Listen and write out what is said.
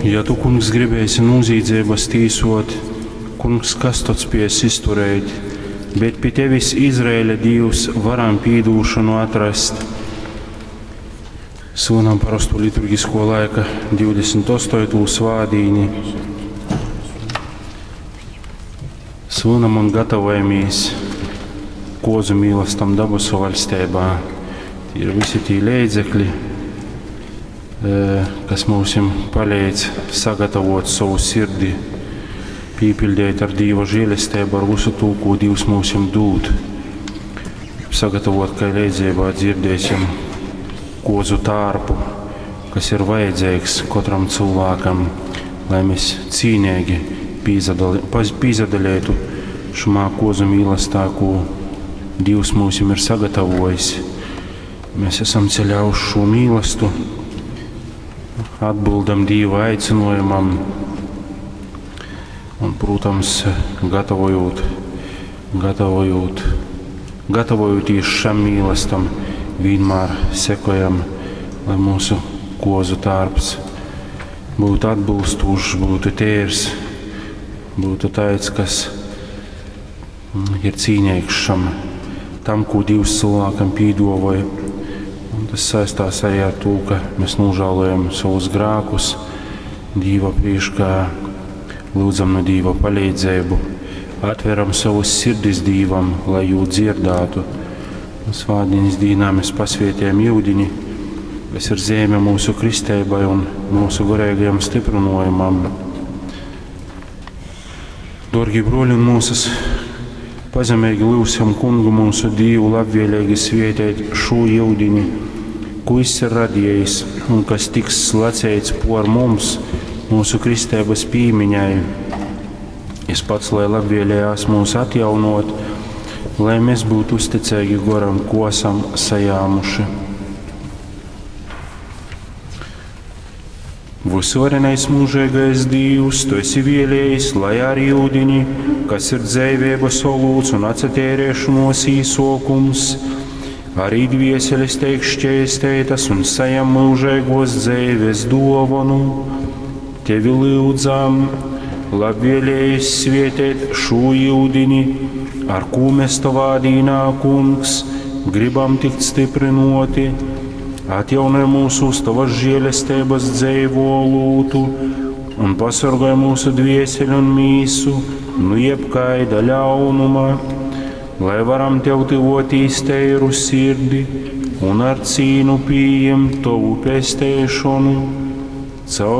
Ja tu, kungs, gribēsi nūzīdzeibas tīsot, kungs, kas tod spēs izturēt? Bet pi tevis, Izraēļa Dīvs, varam pīdūšanu atrast. Svinam parosto liturgisko laika 28. svādīni. Svinam un gatavojamies kozu mīlastam dabasu vaļsteibā. Tie ir visi tī leidzekļi, kas mums palīdz sagatavot savu sirdi, pīpildīt ar Dīva žēlestību, ar visu to, ko Dievs mums dod. Sagatavot, kā leidzībā dzirdēsim kozu tārpu, kas ir vajadzīgs katram cilvēkam, lai mēs cīnīgi pīzadalētu šumā kozu mīlestā, ko Dievs mums ir sagatavojis. Mēs esam ceļā uz šo mīlestu, atbildam Dieva aicinājumam un, protams, gatavojot, gatavojot, gatavojoties šam mīlestam, vienmēr sekojam, lai mūsu kozu tārps būtu atbilstošs, būtu tērs, būtu tāds, kas ir cīnīgs šam, tam, ko Dievs cilvēkam pīdovoja. Un tas saistās arī ar to, ka mēs nožēlojam savus grēkus Dieva priekšā, lūdzam no Dieva palīdzību, atveram savus sirdis Dievam, lai jū dzirdētu. Un svātdienas dīnā mēs pasvietējam jūdiņi, kas ir zīme mūsu kristēbai un mūsu garīgajam stiprinojumam. Dārgie broļi un mūsas, pazemīgi lūgsim kungu mūsu Dievu labvēlīgi svietēt šo jūdiņu, ko viņš ir radījis un kas tiks slacēts por mums, mūsu kristēbas pīmiņai. Es pats, lai labvēlējās mūs atjaunot, lai mēs būtu uzticīgi goram, ko esam sajāmuši. Visvarenais mūžīgais Dievs, tu esi vēlējis, lai ar jūdiņi, kas ir dzēvības olūts un atcetērēšanos īsokums, arī dvieseles teik šķēstētas un sajam mūžīgos dzēves dovanu. Tevi lūdzam, labvēlējis svietēt šo jūdiņi, ar ko mēs tavā dīnā, kungs, gribam tikt stiprinoti, atjaunoj mūsu uz tavas žēlestības dzeivo olūtu un pasargāj mūsu dvieseli un mīsu nu jebkaida ļaunuma, lai varam tev tuvotīs teiru sirdi un ar cīnu pieņemt tavu pestēšanu. Caur